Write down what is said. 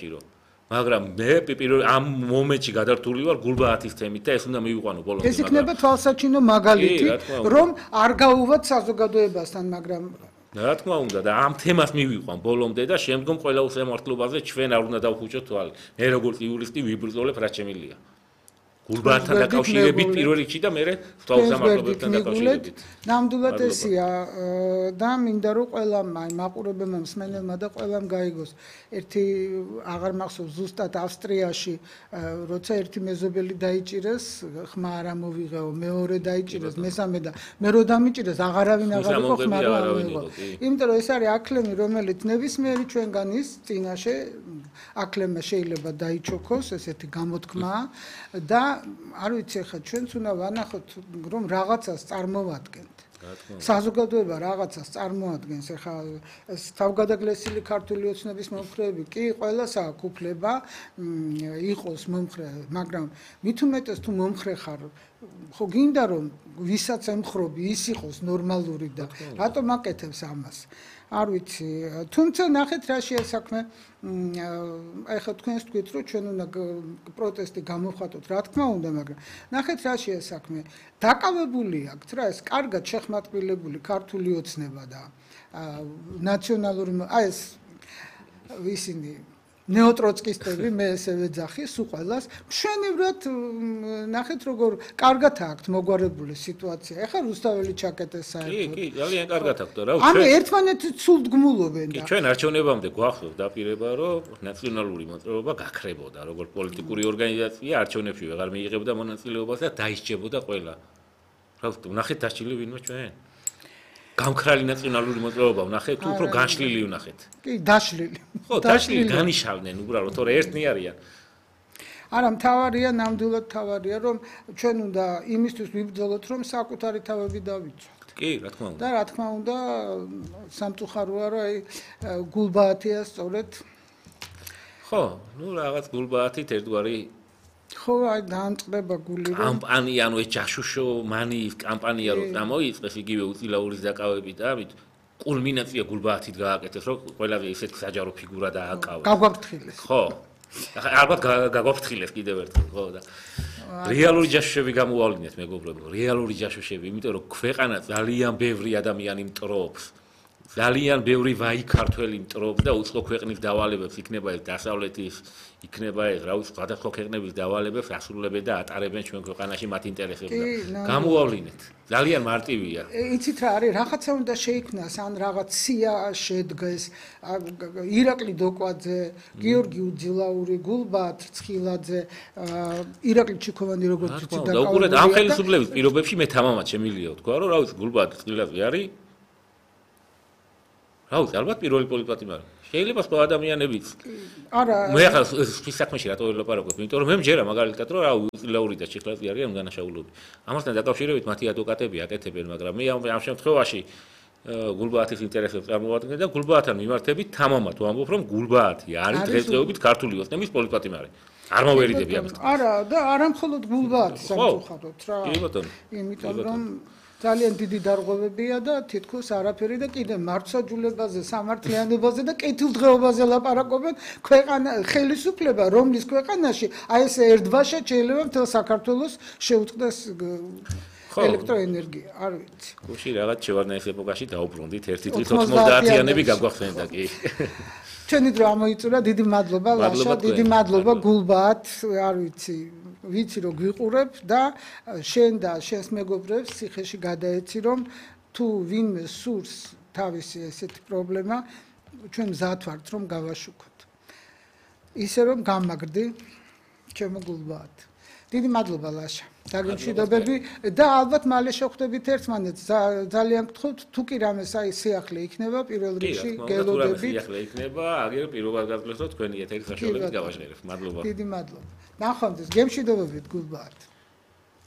საჭირო. მაგრამ მე ამ მომენტში გადართული ვარ გულბაათის თემით და ეს უნდა მივიყვანო ბოლომდე. ეს იქნება თვალსაჩინო მაგალითი, რომ არ გაუვათ საზოგადოებასთან, მაგრამ რა თქმა უნდა და ამ თემას მივიყვან ბოლომდე და შემდგომ ყველა უსამართლობაზე ჩვენ არ უნდა დავხუჭოთ თვალი. მე როგორც იურისტი ვიბრძოლებ რაც შემიძლია. გულბაათთან დაკავშირებით პირველ რიგში და მე თვალსამართლობებთან დაკავშირებით. ნამდვილად ესია და მინდა რომ ყველამ მაყურებელმა მსმენელმა და ყველამ გაიგოს. ერთი აღარ მახსოვს ზუსტად ავსტრიაში როცა ერთი მეზობელი დაიჭირეს, ხმა არ ამოვიღეო, მეორე დაიჭირეს, მესამე და მე რო დამიჭირეს აღარავინ აღარ იყო ხმა რა ამოვიღო. იმიტომ რომ ეს არის აკლემი, რომელიც ნებისმიერი ჩვენგანის წინაშე აკლემა შეიძლება დაიჩოქოს, ესეთი გამოთქმაა და არ ვიცი ხა ჩვენც უნდა ვანახოთ რომ რაღაცას წარმოვადგენთ. საზოგადოება რაღაცას წარმოადგენს ხა თავგადაგლესილი ქართული ოცნების მომხრეები კი ყველას აქვს უფლება იყოს მომხრე, მაგრამ მით უმეტეს თუ მომხრე ხარ ხო გინდა რომ ვისაც ემხრობი ის იყოს ნორმალური და რატომ აკეთებს ამას? არ ვიცი, თუმცა ნახეთ რა შეასაქმე ეხლა თქვენს თქვით რომ ჩვენ უნდა პროტესტი გამოვხატოთ, რა თქმა უნდა, მაგრამ ნახეთ რა შეასაქმე დაკავებული აქვს რა ეს კარგად შეხმატკბილებული ქართული ოცნება და ნაციონალური ეს ისინი ნეოტროცკისტები მე ესე ვეძახი სულ ყველას მშვენივრად ნახეთ როგორ კარგად აქვს მოგვარებული სიტუაცია. ეხლა რუსთაველი ჩაკეტეს საერთოდ. კი, ძალიან კარგად აქვს და რა ანუ ერთმანეთს სულდგმულობენ და ჩვენ არჩევნებამდე გვახსოვს დაპირება რომ ნაციონალური მოძრაობა გაქრებოდა როგორც პოლიტიკური ორგანიზაცია არჩევნებში ვეღარ მიიღებდა მონაწილეობას და დაისჯებოდა ყველა. რა ვთქვი, ნახეთ დასჭილი ვინმე ჩვენ? გამქრალი ნაციონალური მოძრაობა ვნახეთ, თუ უფრო განშლილი ვნახეთ. კი, დაშლილი. ხო, დაშლილი დანიშავდნენ უბრალოდ, თორე ერთნი არიან. არა, მთავარია, ნამდვილად მთავარია, რომ ჩვენ უნდა იმისთვის ვიბრძოლოთ, რომ საკუთარი თავები დავიცვათ. კი, რა თქმა უნდა. და რა თქმა უნდა, სამწუხაროა, რომ აი გულბაათია სწორედ. ხო, ნუ რაღაც გულბაათით ერთგვარი ხო, აი დაამწყდება გული რომ კამპანია, ანუ ეს ჯაშუშო მანიის კამპანია რო წამოიწყეს იგივე უწილაურის დაკავებით და ამით კულმინაცია გულბაათით გააკეთეს, რომ ყველაზე ისეთი საჯარო ფიგურა დააკავეს. გაგვაფრთხილეს. ხო. ალბათ გაგვაფრთხილეს კიდევ ერთხელ, ხო და რეალური ჯაშუშები გამოავლინეთ მეგობრებო, რეალური ჯაშუშები, იმიტომ რომ ქვეყანა ძალიან ბევრი ადამიანი მტრობს. ძალიან ბევრი ვაი ქართველი მტრობს და უცხო ქვეყნის დავალებებს იქნება ეს დასავლეთის იქნება ეს რა ვიცი სხვადასხვა ქვეყნების დავალებებს ასრულებენ და ატარებენ ჩვენ ქვეყანაში მათ ინტერესებს და გამოავლინეთ ძალიან მარტივია იცით რა არის რაღაცა უნდა შეიქმნას ან რაღაც სია შედგეს ირაკლი დოკვაძე გიორგი უძილაური გულბაათ ცხილაძე ირაკლი ჩიქოვანი როგორც იცით და უყურეთ ამ ხელისუფლების პირობებში მე თამამად შემიძლია ვთქვა რომ რა ვიცი გულბაათ ცხილაძე არის აუ, ალბათ პირველი პოლიტიკათი მაგრამ შეიძლება სხვა ადამიანებიც. არა. მე ახლა ის საქმეში რატო ველაპარაკობ? იმიტომ რომ მე მჯერა მაგალითად რომ რა უწილაური და ჩიხლაძე არიან უდანაშაულობი. ამასთან დაკავშირებით მათი ადვოკატები აკეთებენ, მაგრამ მე ამ შემთხვევაში გულბაათის ინტერესებს წარმოვადგენ და გულბაათთან მიმართებით თამამად ვამბობ რომ გულბაათი არის დღესდღეობით ქართული ოცნების პოლიტიკათი მაგრამ არ მოვერიდები ამის. არა და არა მხოლოდ გულბაათი სამწუხაროდ რა. კი ბატონო. იმიტომ რომ ძალიან დიდი დარღვევებია და თითქოს არაფერი და კიდე მარცხაჯულებაზე, სამართლიანობაზე და კეთილდღეობაზე ლაპარაკობენ ქვეყანა ხელისუფლება, რომლის ქვეყანაში აი ეს ერთბაშად შეიძლება მთელ საქართველოს შეუწყდეს ელექტროენერგია, არ ვიცი. გუში რაღაც შევარდნაის ეპოქაში დაუბრუნდით 1 წლის 90-იანები გაგვახსენდა კი. ჩვენი დრო ამოიწურა, დიდი მადლობა ლაშა, დიდი მადლობა გულბაათ, არ ვიცი რომ გვიყურებ და შენ და შენს მეგობრებს ციხეში გადაეცი რომ თუ ვინმე სურს თავისი ესეთი პრობლემა ჩვენ მზად ვართ რომ გავაშუქოთ ისე რომ გამაგრდი ჩემო გულბაათ დიდი მადლობა ლაშა დაგემშვიდობები და ალბათ მალე შევხვდებით ერთმანეთს ძალიან გთხოვთ თუ კი რამეს აი სიახლე იქნება პირველ რიგში გელოდებით სიახლე იქნება აგერ პირველად გაგძლევთ თქვენი ეთერი საშუალებით გავაჟღერებთ მადლობა დიდი მადლობა ნახვამდის გემშვიდობებით გულბაათ